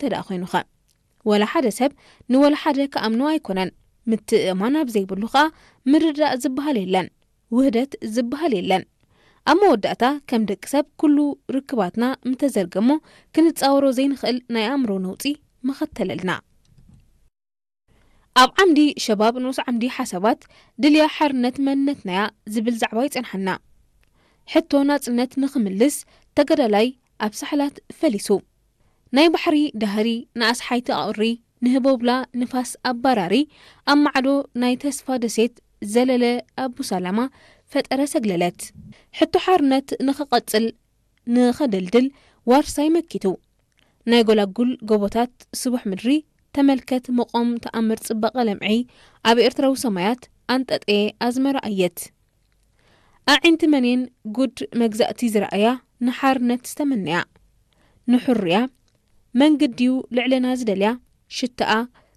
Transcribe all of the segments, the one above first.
እንተ ደኣ ኮይኑኸ? ወላ ሓደ ሰብ ንወላ ሓደ ክኣምኖ ኣይኮነን። ምትእእማን ኣብ ዘይብሉ ኸኣ ምርዳእ ዝበሃል የለን፣ ውህደት ዝበሃል የለን። ኣብ መወዳእታ ከም ደቂ ሰብ ኩሉ ርክባትና ምተዘርገሞ ክንጻወሮ ዘይንኽእል ናይ ኣእምሮ ነውጺ መኸተለልና። ኣብ ዓምዲ ሸባብ ንኡስ ዓምዲ ሓሳባት ድልያ ሓርነት መንነትናያ ዝብል ዛዕባ ይጸንሓና። ሕቶ ናጽነት ንኽምልስ ተገዳላይ ኣብ ሳሕላት ፈሊሱ። ናይ ባሕሪ ዳህሪ ንኣስሓይቲ ኣቑሪ ንህቦብላ ንፋስ ኣባራሪ ኣብ ማዕዶ ናይ ተስፋ ደሴት ዘለለ ኣቡሳላማ ፈጠረ ሰግለለት። ሕቶ ሓርነት ንኽቐጽል ንኸደልድል ዋርሳይ መኪቱ። ናይ ጎላጉል ጎቦታት ስቡሕ ምድሪ ተመልከት መቖም ተኣምር ጽባቐ ለምዒ ኣብ ኤርትራዊ ሰማያት ኣንጠጠየ ኣዝመራ ኣየት። ኣዒንቲ መኔን ጉድ መግዛእቲ ዝረኣያ ንሓርነት ዝተመነያ ንሕሩያ መንግድዩ ልዕልና ዝደልያ ሽታኣ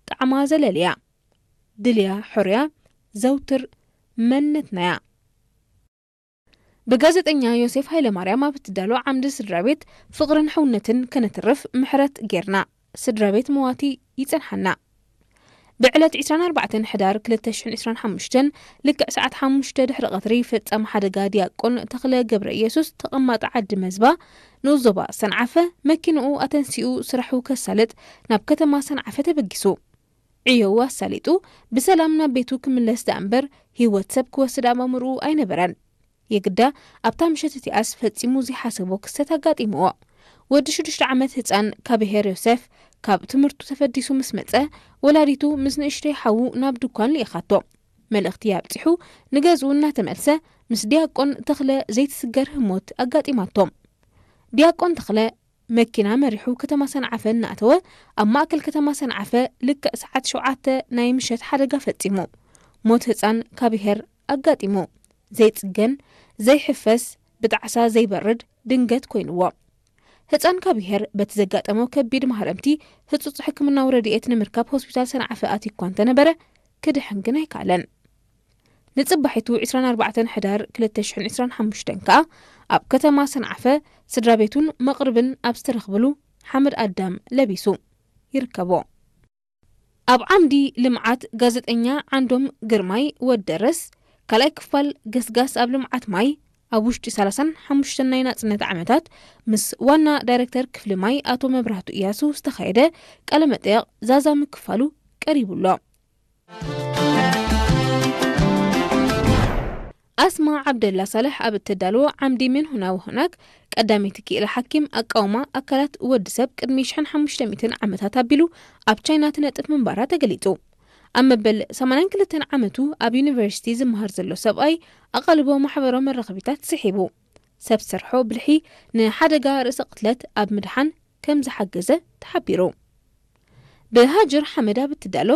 ጣዕማ ዘለልያ ድልያ ሕሩያ ዘውትር መንነትናያ። ብጋዜጠኛ ዮሴፍ ሃይለማርያም ኣብ እትዳሎ ዓምዲ ስድራ ቤት ፍቕርን ሕውነትን ከነትርፍ ምሕረት ጌርና ስድራ ቤት መዋቲ ይጸንሓና። ብዕለት ዕስራን ኣርባዕተን ሕዳር ክልተ ሽሕን ዕስራን ሓሙሽተን ልክዕ ሰዓት ሓሙሽተ ድሕሪ ቀትሪ ፈጻሚ ሓደጋ ዲያቆን ተኽለ ገብረ ኢየሱስ ተቐማጢ ዓዲ መዝባ ንኡስ ዞባ ሰንዓፈ መኪንኡ ኣተንሲኡ ስራሑ ከሳልጥ ናብ ከተማ ሰንዓፈ ተበጊሱ። ዕዮኡ ኣሳሊጡ ብሰላም ናብ ቤቱ ክምለስ ደኣ እምበር ህይወት ሰብ ክወስድ ኣብ ኣእምርኡ ኣይነበረን። የግዳ ኣብታ ምሸት እቲኣስ ፈጺሙ ዘይሓሰቦ ክስተት ኣጋጢምዎ። ወዲ ሽዱሽተ ዓመት ህጻን ካብ ብሄር ዮሴፍ ካብ ትምህርቱ ተፈዲሱ ምስ መጸ ወላዲቱ ምስ ንእሽተይ ሓዉ ናብ ድኳን ልኢኻቶ። መልእኽቲ ኣብጺሑ ንገዝኡ እናተመልሰ ምስ ዲያቆን ተኽለ ዘይትስገር ህሞት ኣጋጢማቶም። ዲያቆን ተኽለ መኪና መሪሑ ከተማ ሰንዓፈ እናእተወ ኣብ ማእከል ከተማ ሰንዓፈ ልክዕ ሰዓት ሸውዓተ ናይ ምሸት ሓደጋ ፈጺሙ። ሞት ህጻን ካብ ብሄር ኣጋጢሙ። ዘይጽገን ዘይሕፈስ ብጣዕሳ ዘይበርድ ድንገት ኮይንዎ። ህጻን ካብ ብሄር በቲ ዘጋጠሞ ከቢድ ማህረምቲ ህጹጽ ሕክምናዊ ረድኤት ንምርካብ ሆስፒታል ሰንዓፈ ኣትዩ እኳ እንተነበረ ክድሕን ግን ኣይከኣለን። ንጽባሒቱ ዕስራን ኣርባዕተን ሕዳር ክልተ ሽሕን ዕስራን ሓሙሽተን ከኣ ኣብ ከተማ ሰንዓፈ ስድራ ቤቱን መቕርብን ኣብ ዝተረኽብሉ ሓመድ ኣዳም ለቢሱ ይርከቦ። ኣብ ዓምዲ ልምዓት ጋዜጠኛ ዓንዶም ግርማይ ወደረስ ካልኣይ ክፋል ገስጋስ ኣብ ልምዓት ማይ ኣብ ውሽጢ ሰላሳን ሓሙሽተን ናይ ናጽነት ዓመታት ምስ ዋና ዳይረክተር ክፍሊ ማይ ኣቶ መብራህቱ እያሱ ዝተኻየደ ቃለ መጠየቕ ዛዛሚ ክፋሉ ቀሪቡ ኣሎ። ኣስማ ዓብደላ ሳልሕ ኣብ እተዳልዎ ዓምዲ ምን ሁና ወሁናክ ቀዳመይቲ ክኢላ ሓኪም ኣቃውማ ኣካላት ወዲ ሰብ ቅድሚ ሽሕን ሓሙሽተ ሚእትን ዓመታት ኣቢሉ ኣብ ቻይና ትነጥፍ ምንባራ ተገሊጹ። ኣብ መበል ሰማንያን ክልተን ዓመቱ ኣብ ዩኒቨርሲቲ ዝመሃር ዘሎ ሰብኣይ ኣቓልቦ ማሕበራዊ መራኸቢታት ስሒቡ። ሰብ ሰርሖ ብልሒ ንሓደጋ ርእሰ ቅትለት ኣብ ምድሓን ከም ዝሓገዘ ተሓቢሩ። ብሃጅር ሓመድ ኣብ እትዳሎ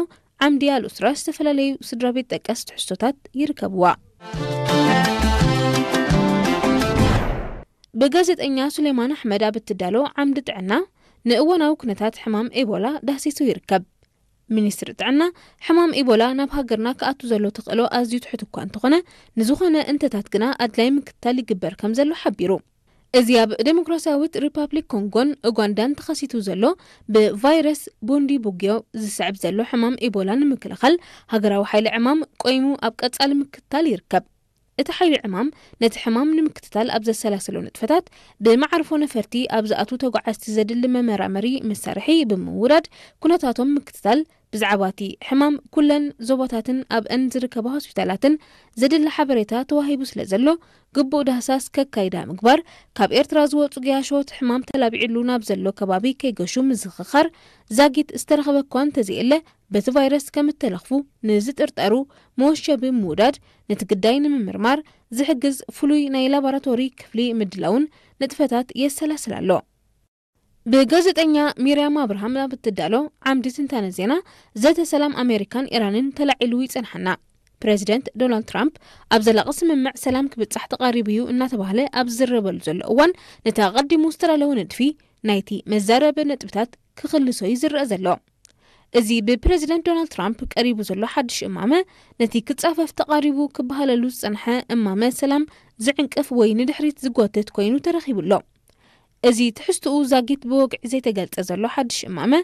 ዓምዲ ኣልኡስራ ዝተፈላለዩ ስድራ ቤት ጠቀስ ትሕዝቶታት ይርከብዋ። ብጋዜጠኛ ሱሌማን ኣሕመድ ኣብ እትዳሎ ዓምዲ ጥዕና ንእዋናዊ ኩነታት ሕማም ኤቦላ ዳህሲሱ ይርከብ። ሚኒስትሪ ጥዕና ሕማም ኢቦላ ናብ ሃገርና ክኣቱ ዘሎ ተኽእሎ ኣዝዩ ትሑት እኳ እንተኾነ፣ ንዝኾነ እንተታት ግና ኣድላይ ምክትታል ይግበር ከም ዘሎ ሓቢሩ። እዚ ኣብ ዴሞክራሲያዊት ሪፓብሊክ ኮንጎን ኡጋንዳን ተኸሲቱ ዘሎ ብቫይረስ ቡንዲ ቡግዮ ዝስዕብ ዘሎ ሕማም ኢቦላ ንምክልኻል ሃገራዊ ሓይሊ ዕማም ቆይሙ ኣብ ቀጻሊ ምክትታል ይርከብ። እቲ ሓይሊ ዕማም ነቲ ሕማም ንምክትታል ኣብ ዘሰላሰሎ ንጥፈታት፣ ብመዓርፎ ነፈርቲ ኣብ ዝኣትዉ ተጓዓዝቲ ዘድሊ መመራመሪ መሳርሒ ብምውዳድ ኩነታቶም ምክትታል፣ ብዛዕባ እቲ ሕማም ኩለን ዞባታትን ኣብአን ዝርከባ ሆስፒታላትን ዘድሊ ሓበሬታ ተዋሂቡ ስለ ዘሎ፣ ግቡእ ዳህሳስ ከካይዳ ምግባር፣ ካብ ኤርትራ ዝወጹ ገያሾ እቲ ሕማም ተላቢዕሉ ናብ ዘሎ ከባቢ ከይገሹ ምዝኽኻር፣ ዛጊት ዝተረኸበ እኳ እንተዘየለ፣ በቲ ቫይረስ ከም እተለኽፉ ንዝጥርጠሩ መወሸቢ ምውዳድ፣ ነቲ ግዳይ ንምምርማር ዝሕግዝ ፍሉይ ናይ ላቦራቶሪ ክፍሊ ምድላውን ንጥፈታት የሰላስል ኣሎ። ብጋዜጠኛ ሚርያም ኣብርሃም ኣብ እትዳሎ ዓምዲ ትንታነ ዜና፣ ዘተ ሰላም ኣሜሪካን ኢራንን ተላዒሉ ይጸንሓና። ፕረዚደንት ዶናልድ ትራምፕ ኣብ ዘላቒ ስምምዕ ሰላም ክብጻሕ ተቓሪቡ እዩ እናተባህለ ኣብ ዝዝረበሉ ዘሎ እዋን፣ ነቲ ኣቐዲሙ ዝተዳለወ ንድፊ ናይቲ መዛረቢ ነጥብታት ክኽልሶ እዩ ዝረአ ዘሎ። እዚ ብፕረዚደንት ዶናልድ ትራምፕ ቀሪቡ ዘሎ ሓድሽ እማመ፣ ነቲ ክጻፈፍ ተቓሪቡ ክበሃለሉ ዝጸንሐ እማመ ሰላም ዝዕንቅፍ ወይ ንድሕሪት ዝጎትት ኮይኑ ተረኺቡ ኣሎ። እዚ ትሕዝትኡ ዛጊት ብወግዒ ዘይተገልጸ ዘሎ ሓድሽ እማመ፣